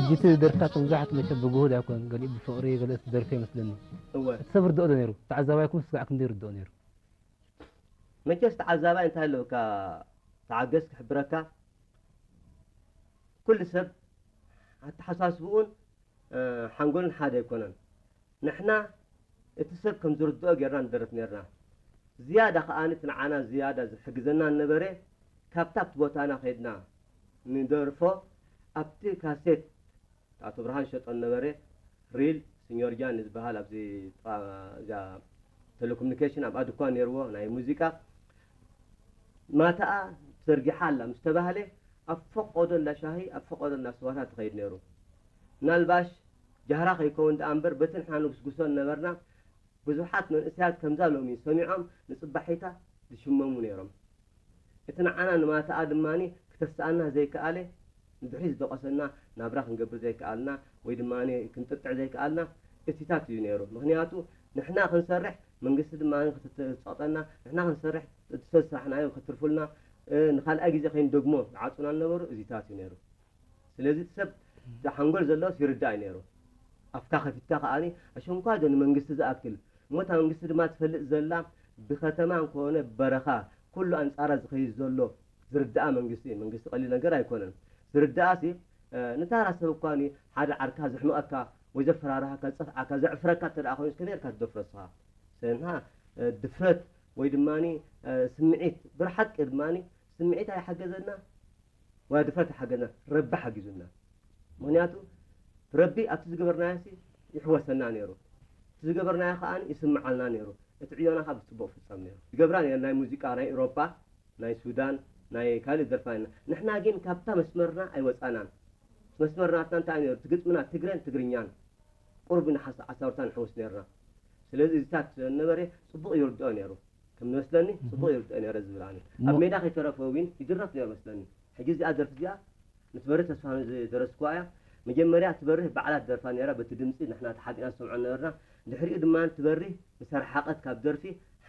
ሕጂ እቲ ደርፍታት መብዛሕትኡ መቸም ብግሁድ ኣይኮን፣ ገሊኡ ብፍቕሪ፣ ገለ ደርፊ ይመስለኒ። እወ እቲ ሰብ ርድኦ ዶ ነይሩ? ተዓዛባይኩም ስጋዕ ክንደይ ርድኦ ነይሩ? መቸስ ተዓዛባይ እንታይ ኣለካ ተዓገስ ክሕብረካ፣ ኩሉ ሰብ ኣተሓሳስብኡን ሓንጎልን ሓደ ኣይኮነን። ንሕና እቲ ሰብ ከም ዝርድኦ ጌርና ንደርፍ ኔርና። ዝያዳ ከኣ እቲ ንዓና ዝያዳ ዝሕግዘና ነበረ፣ ካብታ ኣብቲ ቦታና ከይድና ንደርፎ፣ ኣብቲ ካሴት ኣቶ ብርሃን ሸጦ ነበረ፣ ሪል ሲኞር ጃን ዝበሃል ኣብዚ ጥቓ እዛ ቴሌኮሙኒኬሽን ኣብኣ ድኳን ነይርዎ ናይ ሙዚቃ። ማታኣ ተዘርጊሓ ኣላ ምስ ተባህለ፣ ኣብ ፈቆዶ እንዳ ሻሂ ኣብ ፈቆዶ እንዳ ስዋታት ትኸይድ ነይሩ። ምናልባሽ ጃህራ ከይከውን ደኣ እምበር በቲ ንሕና ንጉስጉሶ ነበርና፣ ብዙሓት መንእሰያት ከምዛ ሎሚ ሰሚዖም ንጽባሒታ ዝሽመሙ ነይሮም። እቲ ንዓና ንማታኣ ድማ ክተስኣና ዘይከኣለ፣ ንድሕሪት ዝደቐሰና ናብራ ክንገብር ዘይከኣልና ወይ ድማ ክንጥጥዕ ዘይከኣልና እቲታት እዩ ነይሩ። ምኽንያቱ ንሕና ክንሰርሕ መንግስቲ ድማ ክትጸቕጠና፣ ንሕና ክንሰርሕ እቲ ሰብ ስራሕናዮ ከትርፉልና፣ ንኻልኣይ ግዜ ከይንደግሞ ዝዓጹና ዝነበሩ እዚታት እዩ ነይሩ። ስለዚ እቲ ሰብ እቲ ሓንጎል ዘለዎስ ይርዳእ እዩ ነይሩ። ኣፍካ ከፊትካ ከኣ ኣሸንኳይ ዶ ንመንግስቲ ዝኣክል እሞ እታ መንግስቲ ድማ ትፈልጥ ዘላ ብከተማ እንኮነ በረኻ ኩሉ ኣንጻራ ዝኸይድ ዘሎ ዝርዳኣ መንግስቲ እዩ። መንግስቲ ቀሊል ነገር ኣይኮነን። ዝርዳኣሲ ንታራ ሰብ እኳ ሓደ ዓርካ ዘሕምቐካ ወይ ዘፈራርሃካ ዝጸፍዓካ ዘዕፍረካ እንተ ደኣ ኮይኑ ከመይ ጌርካ ትደፍሮ ንስኻ? ስለዚ ንሕና ድፍረት ወይ ድማ ስምዒት ብርሓቂ ድማ ስምዒት ኣይሓገዘና። ዋላ ድፍረት ኣይሓገዘና፣ ረቢ ሓጊዙና። ምኽንያቱ ረቢ ኣብቲ ዝገበርናዮሲ ይሕወሰና ነይሩ፣ እቲ ዝገበርናዮ ከኣ ይስምዓልና ነይሩ። እቲ ዕዮና ከዓ ብፅቡቅ ፍፀም ነይሩ። ዝገብራ ነይሩ ናይ ሙዚቃ ናይ ኤውሮጳ ናይ ሱዳን ናይ ካልእ ደርፋ ኢና። ንሕና ግን ካብታ መስመርና ኣይወፃናን። መስመር ናትና እንታይ ነይሩ? እቲ ግጥምና ትግረን ትግርኛን ቁርብ ንሓስ ዓሰርተ ንሕውስ ነይርና። ስለዚ እዚታት ነበረ ፅቡቅ ይርድኦ ነይሩ። ከም ዝመስለኒ ፅቡቅ ይርድኦ ነይረ ዝብል ኣነ ኣብ ሜዳ ከይተረፈ እውን ይድረፍ ነይሩ መስለኒ። ሕጂ እዚኣ ደርፊ እዚኣ ንትበርህ ተስፋ ዝደረስኩዋ እያ። መጀመርያ ትበርህ ባዕላ ትደርፋ ነይራ በቲ ድምፂ ንሕና ተሓቢእና ዝሰምዖ ነበርና። ድሕሪኡ ድማ ትበርህ ምስ ኣርሓቐት ካብ ደርፊ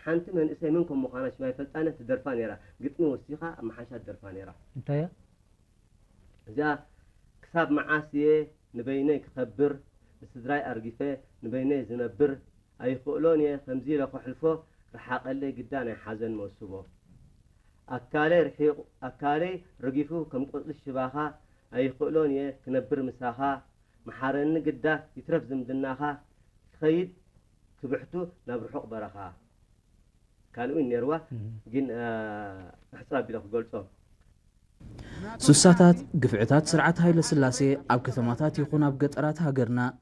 ሓንቲ መንእሰይ መን ከም ምዃና ሽማ ይፈልጣነ ትደርፋ ነይራ። ግጥሚ ወሲኻ ኣብ መሓሻ ትደርፋ ነይራ። እንታይ እያ? እዚኣ ክሳብ መዓስ እየ ንበይነይ ክኸብር ንስድራይ ኣርጊፈ ንበይነይ ዝነብር ኣይኽእሎን እየ ከምዚ ኢለ ከሕልፎ ርሓቐለይ ግዳ ናይ ሓዘን መውስቦ ኣካለይ ርሒቑ ኣካለይ ረጊፉ ከም ቆጽሊ ሽባኻ ኣይኽእሎን እየ ክነብር ምሳኻ መሓረኒ ግዳ ይትረፍ ዝምድናኻ ክኸይድ ክብሕቱ ናብ ርሑቕ በረኻ ካልእ እውን ነይርዋ ግን ኣሕፅር ኣቢለ ክገልፆ ሱሳታት፣ ግፍዕታት ስርዓት ሃይለ ስላሴ ኣብ ከተማታት ይኹን ኣብ ገጠራት ሃገርና